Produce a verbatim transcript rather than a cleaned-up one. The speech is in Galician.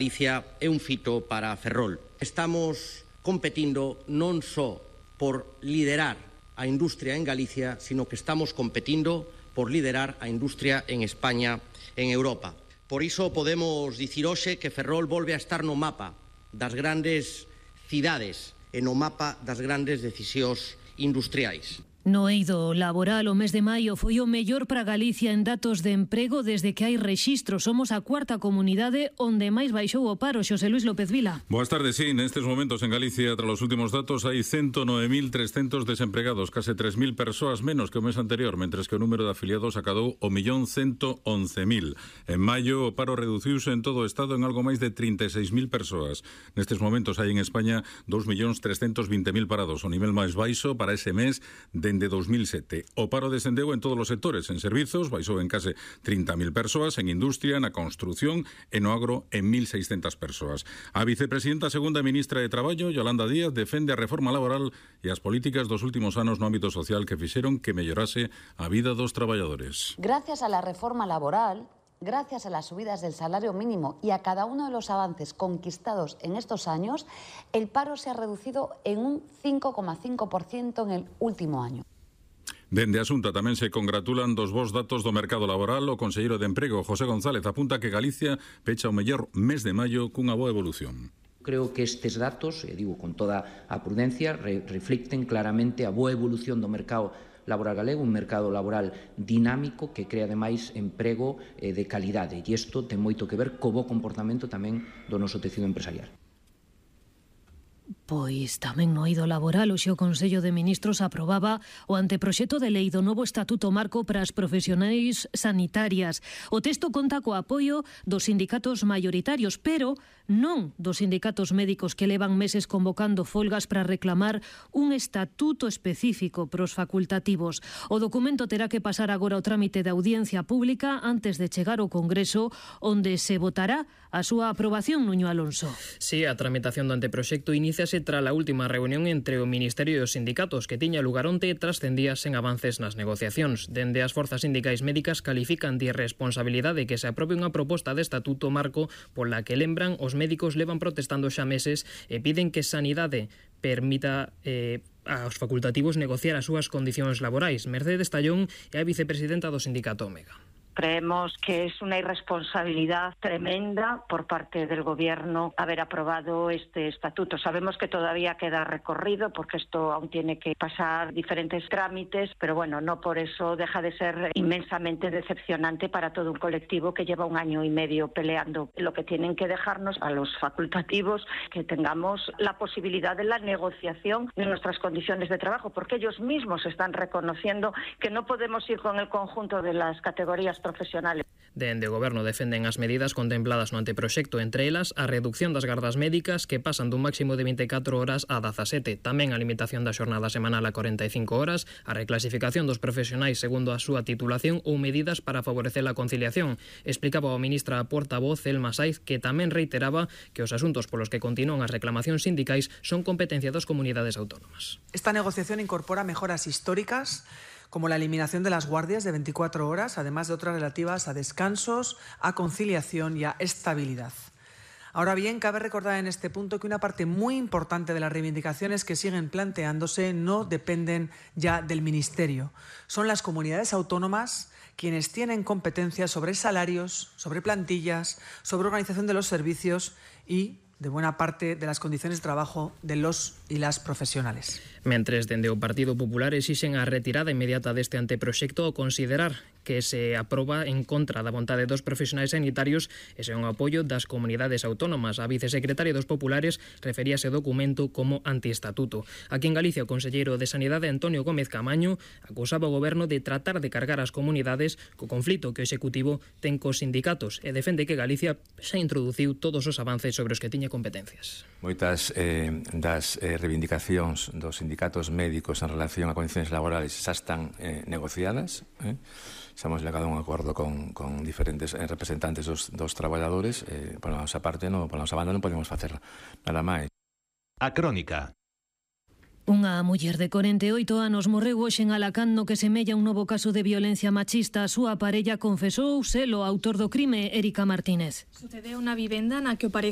Galicia é un fito para Ferrol. Estamos competindo non só por liderar a industria en Galicia, sino que estamos competindo por liderar a industria en España, en Europa. Por iso podemos dicir hoxe que Ferrol volve a estar no mapa das grandes cidades e no mapa das grandes decisións industriais. No eido laboral, o mes de maio foi o mellor para Galicia en datos de emprego desde que hai rexistro. Somos a cuarta comunidade onde máis baixou o paro. Xosé Luis López Vila. Boas tardes, sí, nestes momentos en Galicia, tras os últimos datos, hai ciento nove mil trescentos desempregados, case tres mil persoas menos que o mes anterior, mentres que o número de afiliados acadou o millón ciento once mil. En maio, o paro reduciuse en todo o Estado en algo máis de trinta e seis mil persoas. Nestes momentos hai en España dous millóns trescentos vinte mil parados, o nivel máis baixo para ese mes de dende dos mil sete. O paro descendeu en todos os sectores. En servizos baixou en case trinta mil persoas, en industria, na construción e no agro en mil seiscentas persoas. A vicepresidenta segunda ministra de Traballo, Yolanda Díaz, defende a reforma laboral e as políticas dos últimos anos no ámbito social que fixeron que mellorase a vida dos traballadores. Gracias a la reforma laboral, gracias a las subidas del salario mínimo y a cada uno de los avances conquistados en estos años, el paro se ha reducido en un cinco coma cinco por ciento en el último año. Dende a Xunta tamén se congratulan dos bons datos do mercado laboral. O conselleiro de Emprego, José González, apunta que Galicia pecha o mellor mes de maio cunha boa evolución. Creo que estes datos, e digo con toda a prudencia, re reflicten claramente a boa evolución do mercado laboral galego, un mercado laboral dinámico que crea ademais emprego eh, de calidade, e isto ten moito que ver co bo comportamento tamén do noso tecido empresarial. Pois tamén no eido laboral, hoxe o Consello de Ministros aprobaba o anteproxecto de lei do novo Estatuto Marco para as profesionais sanitarias. O texto conta co apoio dos sindicatos maioritarios, pero non dos sindicatos médicos que levan meses convocando folgas para reclamar un estatuto específico para os facultativos. O documento terá que pasar agora o trámite de audiencia pública antes de chegar ao Congreso, onde se votará a súa aprobación, Nuño Alonso. Sí, a tramitación do anteproxecto iníciase tras a última reunión entre o Ministerio e os sindicatos que tiña lugar onte tras cen días sen avances nas negociacións. Dende as forzas sindicais médicas califican de irresponsabilidade que se aprobe unha proposta de estatuto marco pola que, lembran, os médicos levan protestando xa meses e piden que Sanidade permita eh, aos facultativos negociar as súas condicións laborais. Mercedes Tallón é a vicepresidenta do sindicato Omega. Creemos que es una irresponsabilidad tremenda por parte del Gobierno haber aprobado este estatuto. Sabemos que todavía queda recorrido porque esto aún tiene que pasar diferentes trámites, pero bueno, no por eso deja de ser inmensamente decepcionante para todo un colectivo que lleva un año y medio peleando. Lo que tienen que dejarnos a los facultativos que tengamos la posibilidad de la negociación de nuestras condiciones de trabajo, porque ellos mismos están reconociendo que no podemos ir con el conjunto de las categorías profesionales. Dende o Goberno defenden as medidas contempladas no anteproxecto, entre elas a reducción das gardas médicas que pasan dun máximo de vinte e catro horas a dezasete, tamén a limitación da xornada semanal a corenta e cinco horas, a reclasificación dos profesionais segundo a súa titulación ou medidas para favorecer a conciliación. Explicaba a ministra portavoz Elma Saiz, que tamén reiteraba que os asuntos polos que continúan as reclamacións sindicais son competencia das comunidades autónomas. Esta negociación incorpora mejoras históricas como la eliminación de las guardias de veinticuatro horas, además de otras relativas a descansos, a conciliación y a estabilidad. Ahora bien, cabe recordar en este punto que una parte muy importante de las reivindicaciones que siguen planteándose no dependen ya del Ministerio. Son las comunidades autónomas quienes tienen competencias sobre salarios, sobre plantillas, sobre organización de los servicios y de buena parte de las condiciones de trabajo de los y las profesionales. Mentres, dende o Partido Popular exixen a retirada inmediata deste anteproxecto ao considerar que se aproba en contra da vontade dos profesionais sanitarios e sen o apoio das comunidades autónomas. A vicesecretaria dos Populares referíase ao documento como antiestatuto. Aquí en Galicia, o conselleiro de Sanidade, Antonio Gómez Camaño, acusaba o Goberno de tratar de cargar as comunidades co conflito que o Executivo ten cos sindicatos e defende que Galicia xa introduciu todos os avances sobre os que tiña competencias. Moitas eh, das eh, reivindicacións dos sindicatos médicos en relación a condicións laborales xa están eh, negociadas. Eh? Xa hemos llegado a un acordo con, con diferentes eh, representantes dos, dos traballadores. Eh, por a nosa parte, no, por a nosa banda non podemos facer nada máis. A Crónica. Unha muller de corenta e oito anos morreu hoxe en Alacant no que semella un novo caso de violencia machista. A súa parella confesou ser o autor do crime, Érica Martínez. Sucedeu na vivenda na que o parecido